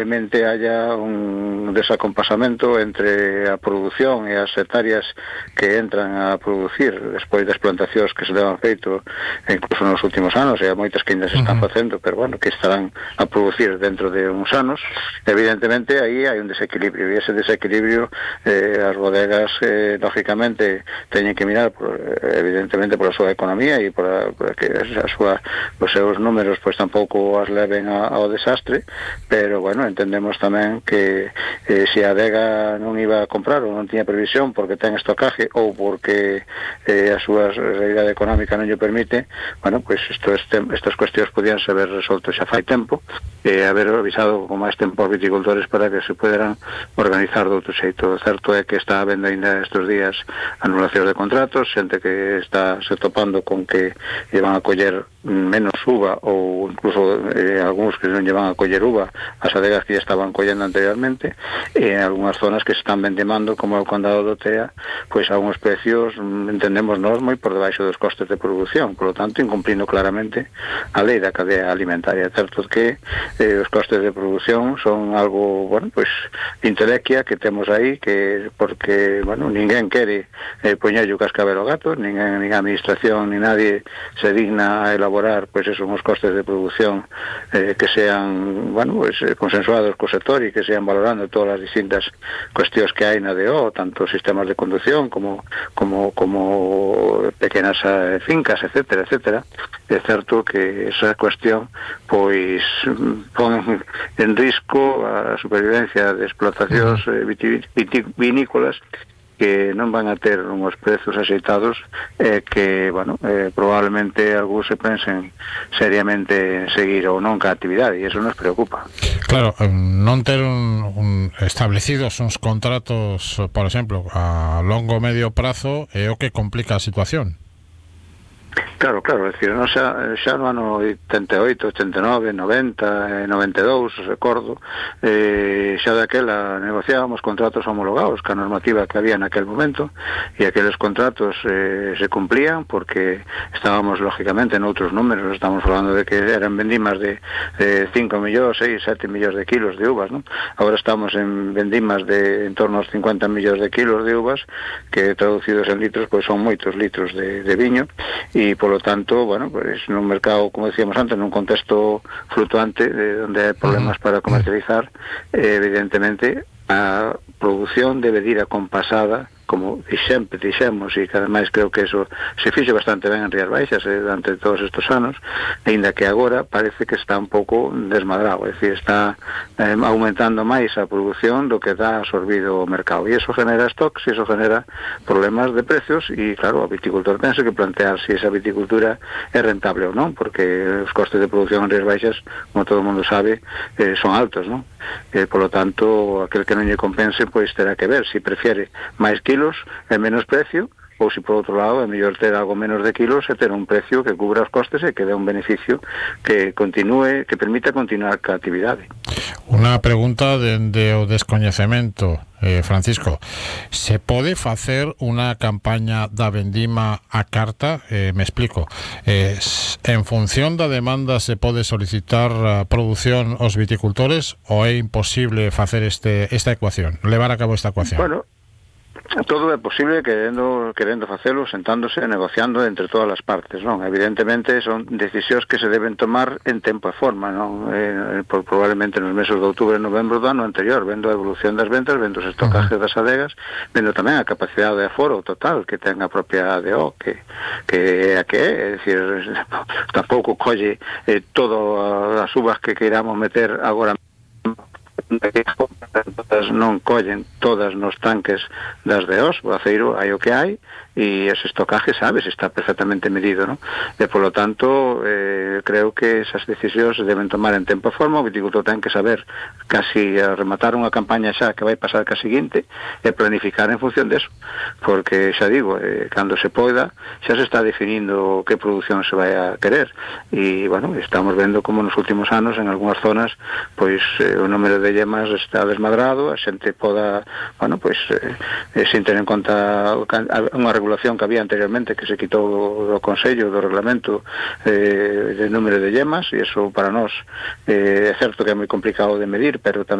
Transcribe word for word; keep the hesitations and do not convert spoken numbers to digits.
probablemente haya un desacompasamento entre a produción e as hectáreas que entran a producir despois das plantacións que se levan feito incluso nos últimos anos, e moitas que ainda se están facendo, pero bueno, que estarán a producir dentro de uns anos. Evidentemente aí hai un desequilibrio, e ese desequilibrio eh, as bodegas eh, lógicamente teñen que mirar por, evidentemente por a súa economía e por, a, por a que a súa, os seus números pois tampouco as leven a, ao desastre, pero bueno, entendemos tamén que eh, se a adega non iba a comprar ou non tiña previsión porque ten estocaje ou porque eh, a súa realidade económica non lle permite, bueno, pois pues este, estas cuestións podían saber resolto xa fai tempo e eh, haber avisado con máis tempo aos viticultores para que se poderan organizar de outro xeito. O certo é que está habendo ainda estes días anulacións de contratos, xente que está se topando con que lle van a coller menos uva ou incluso eh, algúns que non lle van a coller uva as adegas que ya estaban collendo anteriormente, e en algunhas zonas que se están vendimando como o condado do Tea, pois a uns precios entendemos nós moi por debaixo dos costes de produción, por lo tanto incumplindo claramente a lei da cadea alimentaria. Certo que eh, os costes de produción son algo, bueno, pois intelequia que temos aí, que porque, bueno, ninguén quere eh, poñerlle o cascabel ao gato, ninguén, nin a administración, ni nadie se digna a elaborar, pois esos os costes de produción eh, que sean, bueno, pues, eh, consensuados co sector e que sean valorando todas as distintas cuestións que hai na D O, tanto sistemas de conducción como como como pequenas eh, fincas, etcétera, etcétera. É certo que esa cuestión pois pon en risco a supervivencia de explotacións eh, vitivinícolas que non van a ter unhos prezos axeitados e eh, que, bueno, eh, probablemente algúns se pensen seriamente en seguir ou non ca actividade, e iso nos preocupa. Claro, non ter un, un establecidos uns contratos, por exemplo, a longo medio prazo é o que complica a situación. Claro, claro, é dicir, non xa, xa no ano oitenta e oito, oitenta e nove, noventa, noventa e dous, recordo, eh, xa daquela negociábamos contratos homologados ca normativa que había naquel momento, e aqueles contratos eh, se cumplían porque estábamos lógicamente noutros números, estamos falando de que eran vendimas de, de cinco millóns, seis, sete millóns de kilos de uvas, ¿no? Agora estamos en vendimas de en torno aos cincuenta millóns de kilos de uvas, que traducidos en litros, pois son moitos litros de, de viño, e por lo tanto, bueno, pues nun mercado, como decíamos antes, nun contexto flutuante de onde hai problemas para comercializar, eh, evidentemente a produción debe ir acompasada, como sempre dixemos, e que ademais creo que eso se fixe bastante ben en Rías Baixas eh, durante todos estes anos, aínda que agora parece que está un pouco desmadrado, é dicir, está eh, aumentando máis a produción do que dá absorbido o mercado, e eso genera stocks, e eso genera problemas de precios, e claro, o viticultor pensa que plantear se esa viticultura é rentable ou non, porque os costes de produción en Rías Baixas, como todo o mundo sabe, eh, son altos, non? Eh, por lo tanto, aquel que non lle compense, pois terá que ver se prefiere máis kilos e menos precio, ou se por outro lado é mellor ter algo menos de kilos e ter un precio que cubra os costes e que dé un beneficio que continúe, que permita continuar ca actividade. Unha pregunta dende o descoñecemento, eh, Francisco, se pode facer unha campaña da vendima a carta? Eh, me explico, eh, en función da demanda se pode solicitar a produción aos viticultores, ou é imposible facer este esta ecuación, levar a cabo esta ecuación? Bueno, todo é posible querendo querendo facelo, sentándose e negociando entre todas as partes, non? Evidentemente son decisións que se deben tomar en tempo e forma, non? Eh, por, probablemente nos meses de outubro e novembro do ano anterior, vendo a evolución das ventas, vendo os estocajes das adegas, vendo tamén a capacidade de aforo total que ten a propia A D O, que que é a que é, é dicir, tampouco colle eh, todas as uvas que queiramos meter agora todas non collen todas nos tanques das D Os, o aceiro hai o que hai, e ese estocaje, sabes, está perfectamente medido, ¿no? E, polo tanto, eh, creo que esas decisións se deben tomar en tempo e forma. O viticultor ten que saber casi a rematar unha campaña xa que vai pasar ca seguinte e planificar en función deso, porque, xa digo, eh, cando se poida, xa se está definindo que produción se vai a querer, e, bueno, estamos vendo como nos últimos anos, en algunhas zonas, pois, eh, o número de yemas está desmadrado, a xente poda, bueno, pois, eh, sin ter en conta unha regulación que había anteriormente que se quitou do Consello, do Reglamento eh, de número de yemas, e iso para nós eh, é certo que é moi complicado de medir pero tamén